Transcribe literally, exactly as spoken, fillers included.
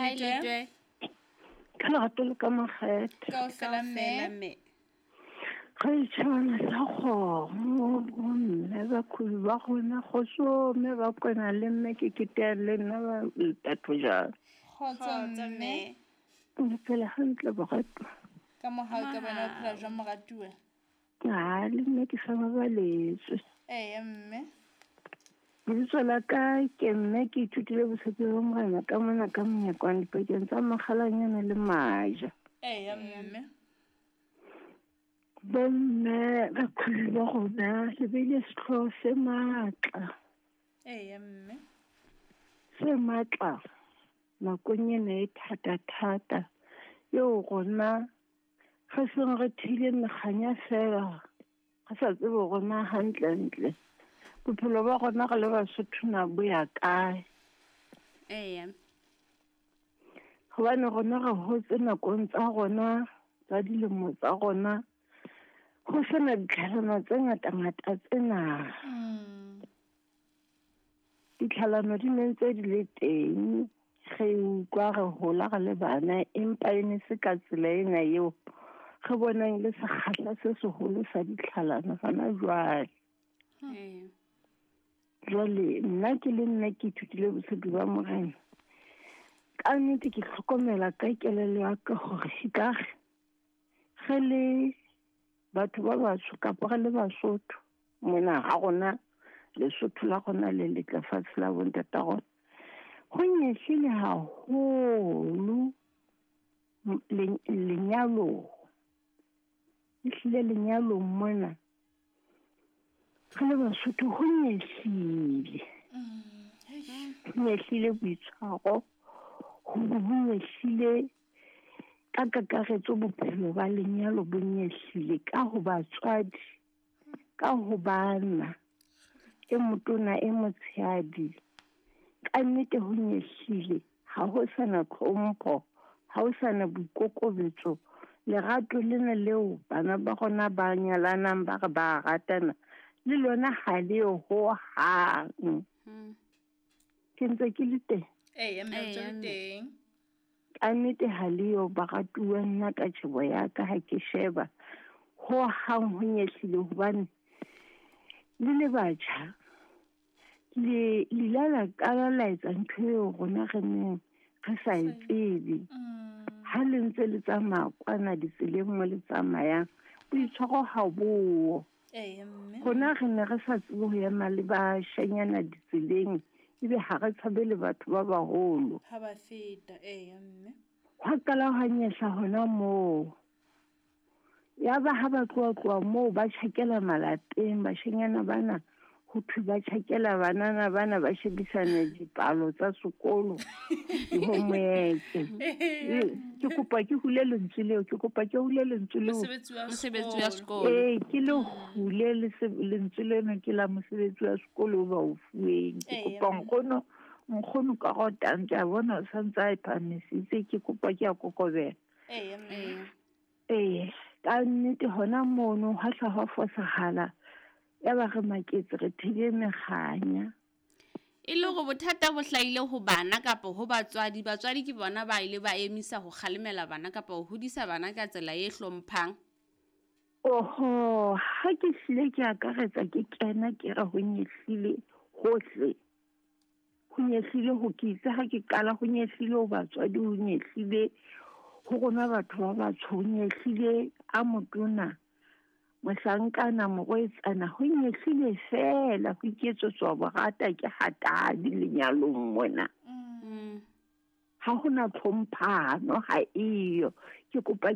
Hi Letwe. Letwe. Ka lerato le ka makgethe. Kaofela mme. Mme. Ga itšhabana sa kgomo bomme bakhubi ba gona kgotso mme ba kona le mme ke ketea le nna ba letatho jang. Kgotso Kgotso mme. mme. Le phela hantle borato. Ka mohau ka bona o phela jwang moratuwa? Ha le nna ke sa babaletswe. Eya mme. Lebitso la ka ke mme ke ithutile botshepi ba Morena ka mona ka monyakwane dipakeng tsa Makgalanyana le Maja. Eya mme. Bomme bakhubi ba rona le beile sehlooho se matla. Eya mme. Se matla nakong ena e thata-thata eo rona re seng re theile mekganya fela re sa tsebe hore na hantlentle bophelo ba rona re le Basotho na bo ya kae. Eya. Hobane rona re hotse nakong tsa rona tsa dilemo tsa rona ho sena ditlhalano tse ngata-ngata tsena. Mm. Ditlhalano di ne ntse di le teng, re utlwa re hola re le bana, empa e ne se ka tsela ena eo re bonang le sekgahla se seholo sa ditlhalano hona jwale. Eya. Jwale nna ke le nna ke ithutile botshepi ba Morena. Ka nnete ke hlokomela ka kelello ya ka hore ekare re le batho ba batsho kapa re le Basotho mona ha rona Lesotho la rona le letle fatshe la bontata rona ho nyehlile haholo lenyalong. Ehlile lenyalong mona re le Basotho ho nyehlile. Ho nyehlile boitshwaro, ho nyehlile ka kakaretso bophelo ba lenyalo bo nyehlile ka ho batswadi, ka ho bana, e motona e motshehadi. Ka nnete ho nyehlile, ha ho sana tlhompho, ha ho sana boikokobetso. Lerato lena leo bana ba rona ba nyalanang ba re ba ratana, le lona ha le yo hohang. Ke ntse ke le teng. Eya mme o ntse Eya, le mme. teng. Ka nnete ha le yo baratuwa nna ka tjhebo ya ka ha ke sheba hohang ho nyehlile hobane le le batjha le le ile la qala la etsa ntho eo rona re neng re sa e tsebe. Ha le ntse le tsamaya kwana ditseleng mo le tsamayang, boitshwaro ha bo. Eya mme. Rona re ne re sa tsebe ho ema le bashanyana ditseleng, ebe ha re tshabe le batho ba baholo. Ha ba feta, eya mme. Hwa qala hwa nyehla hona moo. Yaba ha ba tloha tloha moo ba tjhakela malapeng, bashanyana bana ho thwe ba tjhakela banana bana ba shebisana dipalo tsa sekolo di-homework. Ke kopa ke hule lentswe leo, ke kopa ke hule lentswe leo. Mosebetsi wa Mosebetsi wa sekolo. sekolo. Ee, ke le hule lese-, lentswe lena ke la mosebetsi wa sekolo o ba o fuweng. Ke Ee, kopa mme. nkgono, nkgono ka rotang, ke a bona o santse a e phahamisitse, ke kopa ke a kokobela. Ee, mme. Ee. Ee, ka nnete hona mono hwa hla hwa fosahala. Yaba re maketse re theile mekganya. E le hore bothata bo hlahile ho bana kapa ho batswadi, batswadi ke bona ba ile ba emisa ho kgalemela bana kapa ho hodisa bana ka tsela e hlomphang. Oho, ha ke hlile ke akaretsa ke kena ke re ho nyehlile hohle. Ho nyehlile ho ke itse ha ke qala ho nyehlile ho batswadi, ho nyehlile ho rona batho ba batsho, ho nyehlile a motona, mohlankana, morwetsana, ho nyehlile feela ho iketsetswa borata ke hatadi lenyalong mona. Mm. Ha hona tlhomphano, ha eyo. Ke kopa